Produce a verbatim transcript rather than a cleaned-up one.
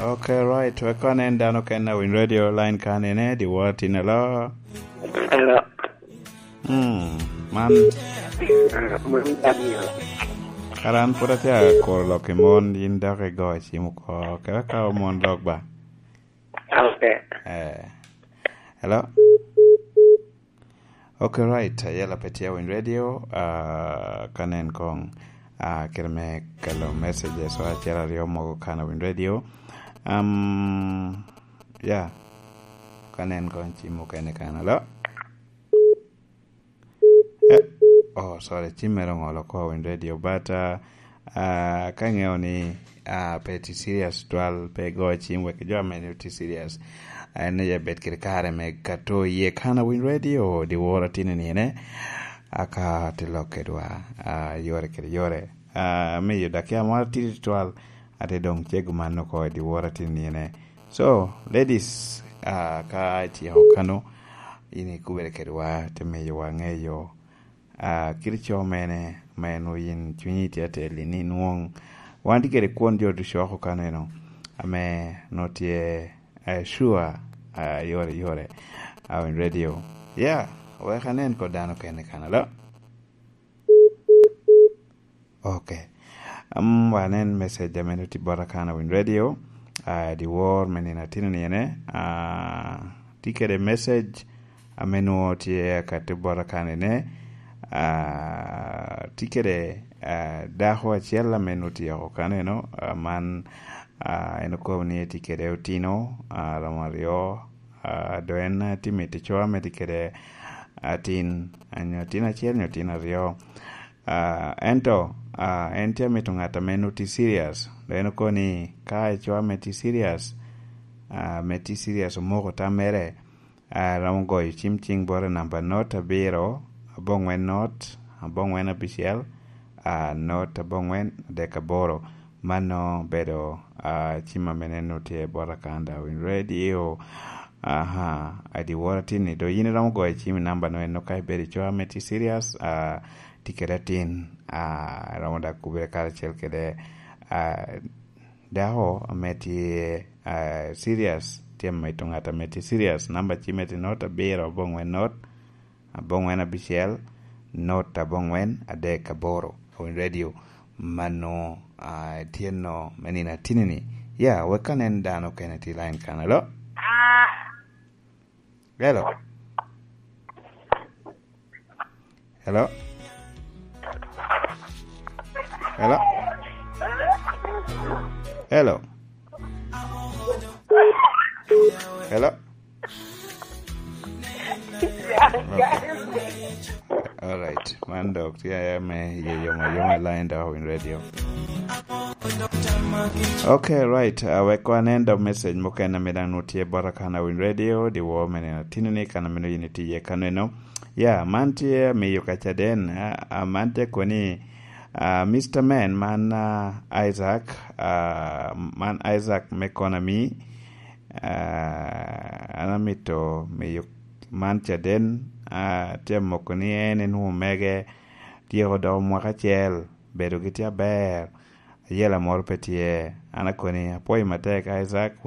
Okay, right. Wek kono en dano ken a winy radio line kan ene, di wor tin alo. Hello. Hmm, man. Ah, man Daniel. Kara an pwod atye akuro lok i mon, yin dok igo cim oko. Kara ka mon lok ba. Okay. Eh. Hello? Okay, right. Ayela pe tye winy radio. Ah, ka nen kong. Ah, kite me kelo messages wa acel aryo mogo kan winy radio. Um, yeah. Ka nen kong cim mukene kan. Hello? Eh, oh, sorry, cim mere oŋolo oko winy radio, but, uh, uh, ka ŋeo ni, uh, pe ti serious twal, pe go cim wek jo ame ni ti serious. En ni ya bet kede kare me kato iye kan a winy radio, di woro atini ni ene, aka ti lok kedwa, uh, yore kede yore. Uh, miyo dakia moro tidi twal, ate doŋ cego man oko di woro atini ni ene. So, ladies, uh, ka ityeko kano, in ikubere kedwa, te miyowa ŋeyo, ah, kit co mene ma en oyin cunyi tye atel ni nwoŋ wan tye kede kwon jo ducu oko kaneno, ame nwoŋo tye, eh, sure, ah, yore, yore, ah, in radio. Yeah, wek anen kod dano kene kan alo. Okay. Am, wanen message ame nwoŋo tye bota kan a winy radio, ah, di wor me nino atino ni ene, ah, tye kede message ame nwoŋo tye akati bota kan ene, ah, tye kede, ah, dako acel ame nwoŋo tye oko kan eno, ah, man, ah, en okobo ni tye kede otino, ah, romo aryo, ah, do en, ah, tye mito co ame tye kede atin, ah, nyo atin acel nyo atin aryo. Ah, ento, ah, en tye amito ŋat ame nwoŋo tye serious. Dok en okobo ni ka ico ame tye serious, ah, ame tye serious omoko tammere, ah, romo goyo cim ciŋ bot i namba not abiro, aboŋwen not, aboŋwen abicel, ah, not aboŋwen adek aboro. Mano bedo, ah, cim ame neno tye bot Akanda Win Radio. Aha, adi woro atin ni, do yin iromo goyo cim i namba no eno ka ibedo ico ame tye serious, ah, tye kede atin, ah, romo dak kubere karacel kede, ah, dako ame tye, ah, serious, tye mito ŋat ame tye serious. Namba cimme tye not abiro aboŋwen not, aboŋwen abicel, not aboŋwen adek aboro. Win Radio, mano, ah, tye no me nino atini ni. Ya, wek ka nen dano kene tye line kan. Hello? Hello? Hello? Hello? Hello? Hello? Okay. All right. Man dok tye me ye yoma yoma line dok Win Radio. Okay, right. Uh, wek wan en dok message mukene ame dang nwoŋo tye bota kan a Win Radio, di wo me neno tini ni kan amino yin itiye kaneno. Ya, man tye miyo ka caden. Ah, ah, man tye koni, ah, Mister Man, man, ah, Isaac, ah, man Isaac me Konami. Ah, an amito miyo man caden, ah, tye moko ni en en omege tyeko doko mwaka acel, bedo gi tye aber, ayela moro pe tye. An akoni apwoyo matek Isaac,